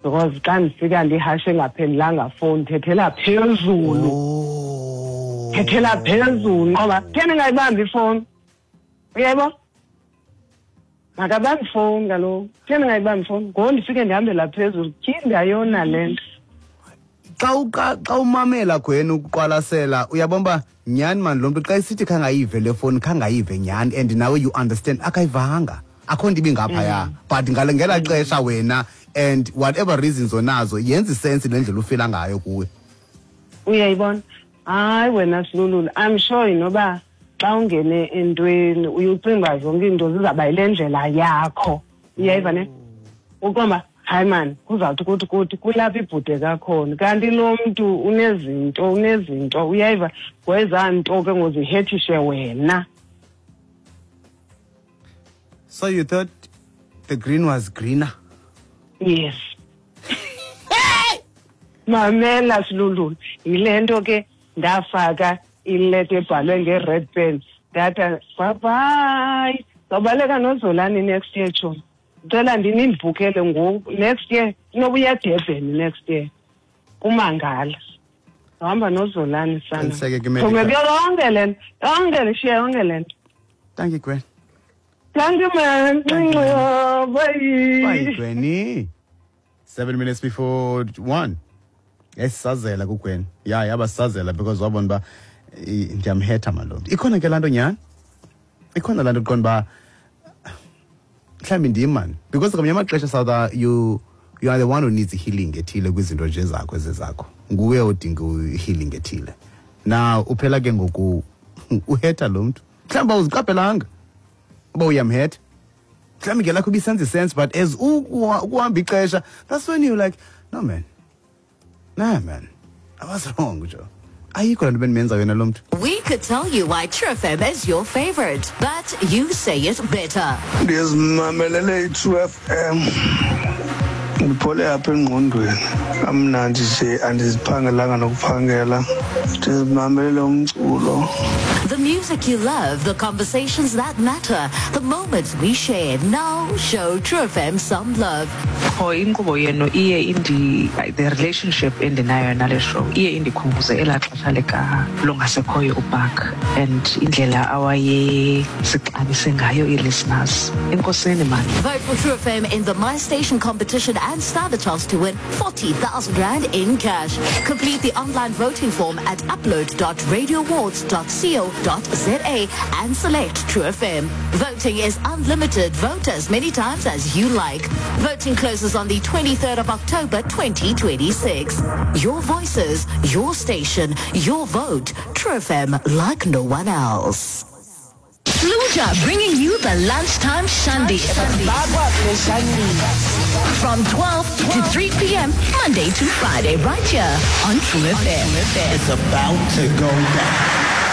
Because xa ndifika ndihashe engaphendulanga fowuni, thethela phezulu. Thethela phezulu ngoba theni ngayibambi ifowuni. Uyayibona? Makabambi ifowuni kaloku. Theni ngayibambi ifowuni? Ngoku ndifike ndihambela phezulu. Tyhini, ndiyayona le nto. Xa umamela Gwen, ukuqwalasela, uyabona uba nyhani mani lo mntu xa esithi khangayive le fowuni, khangayive nyhani, and nawe you understand akayivanga, akho nto ibingaphaya, but ngale ngelaa xesha wena and whatever reasons onazo, yenza i-sense le ndlela ufila ngayo kuwe. Uyayibona? Hayi wena Silululu, I'm sure inoba xa ungene entweni uye ucinga uba zonke iinto zizawuba yile ndlela yakho. Uyayiva ne? Uqonda uba hayi mani, kuzawuthi kuthi kuthi kulapho ibhude kakhona, kanti lo mntu unezinto, unezinto, uyayiva? Kwezaa nto ke ngozihethishe wena. So you thought the green was greener? Yes. Mamela Silululu, yile nto ke ndafaka ileta ebhalwe nge-red pen, ndathi bye bye, zawubaleka noZolani next year, tshomi. Ndicela ndinindibhukele ngoku next year, inoba uya Durban next year kumangala, uhamba noZolani sana. Qiniseke ke, Medical. Tshomi, kuyo yonke le nto, yonke le, shiya yonke le nto. Thank you, Gwen. Thank you, man. Thank you. Bye. Bye, Gwenny. 1:07. Yayisazela kuGwen. Ya, yabasazela because wabona uba ndiyamhetha malomntu. Ikhona ke laa nto nyhani? Ikhona laa nto uqonda uba mhlawumbi ndim mani, because ngamanye amaxesha South you are the one who needs healing ethile kwizinto nje zakho ezezakho, nguwe odinga i-healing ethile. Now uphela ke ngoku uhetha lo mntu, mhlawumbi awuziqaphelanga uba uyamhetha, mhlawumbi ngelakho ibisenza i-sense, but as ukuhamba ixesha, that's when you're like, no man, nah man, I was wrong, jo, ayikho laa nto bendimenza yona lo mntu. We could tell you why True FM is your favorite, but you say it better. Ndizimamelele i-True FM, ndiphole apha engqondweni, kamnandi nje, andiziphangelanga nokuphangela, ndizimamelele umculo. The music you love, the conversations that matter, the moments we share. Now show True FM some love. Qho inkqubo yenu iye indi, the relationship endinayo nale show iye indikhumbuze elaa xesha lika lungasekhoyo uPark and indlela awayesixabise ngayo ii-listeners. Enkosini mani. Vote for True FM in the My Station competition and stand a chance to win 40,000 Rand in cash. Complete the online voting form at upload.radioawards.co.za and select True FM. Voting is unlimited. Vote as many times as you like. Voting closes on the 23rd of October 2026. Your voices, your station, your vote. True FM, like no one else. Fluja bringing you the lunchtime shandy. From 12 to 3 p.m. Monday to Friday, right here on True FM. It's about to go down.